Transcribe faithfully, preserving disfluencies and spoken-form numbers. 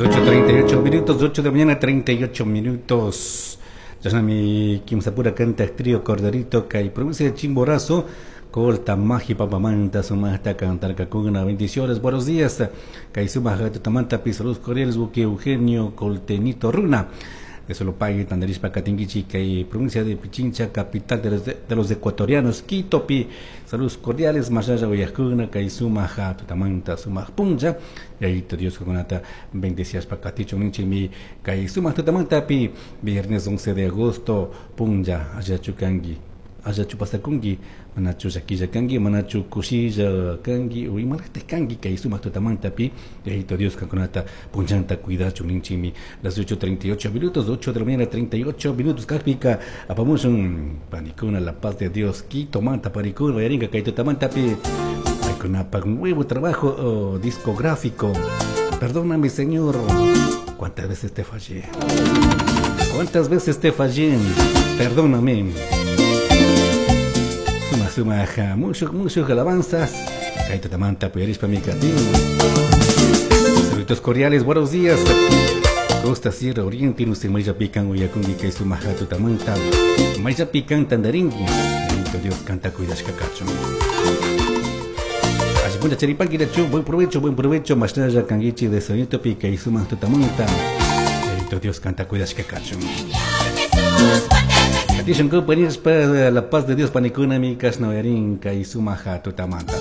ocho treinta y ocho minutos, ocho de la mañana, treinta y ocho minutos. Chashnami kimsapura canta trío Corderito kay provincia de Chimborazo. Colta Maji Papamanta sumajta cantarkakuna. Bendiciones, buenos días. Kay sumaj tutamanta pi saludos cordiales buque Eugenio Coltenito Runa. De Solopague, Tandarishpa, Catinguichi, kay provincia de Pichincha, capital de los, de, de los ecuatorianos, Quito, pi saludos cordiales, Mayaya, Guayacuna, kay sumaja tutamanta sumaj puncha. Y ahí te Dios conata bendecias pa caticho ninchi mi kay sumaj tutamanta pi viernes once de agosto puncha ayachukangi. Ayachu pasakungi, manachu llakilla kangi, manachu kushilla kangi, o imalajta kangi, kay sumaq tutamanta pi, y ahí te Dios kankunata punchanta cuidachu ninchimi. Las ocho treinta y ocho minutos, ocho de la mañana treinta y ocho minutos, kajpika, apamushun, panikuna, la paz de Dios, Quito manta, panikuna, yaringa, kay tutamanta pi, paykunapa nuevo trabajo, oh, discográfico. Perdóname, Señor, cuántas veces te fallé, cuántas veces te fallé, perdóname. Suma, suma, ja, mucho, mucho alabanzas. Kay tutamanta, puyarispa mi katin. Saludos cordiales, buenos días. Costa, Sierra, Oriente, no se maya pican, uyakungi, kay suma, ja, tutamanta. Maya pican, tandaringui. Bendito Dios, canta, cuidas, cacacho. Así punta, cheripanqui, chu, buen provecho, buen provecho. Mashnaya, kanguichi, de sonito, pica, y suma, tutamanta. Bendito Dios, canta, cuidas, cacacho. Dicen que ponías para la paz de Dios, panicuna, mi casnoerin, kay sumaja, tutamanta.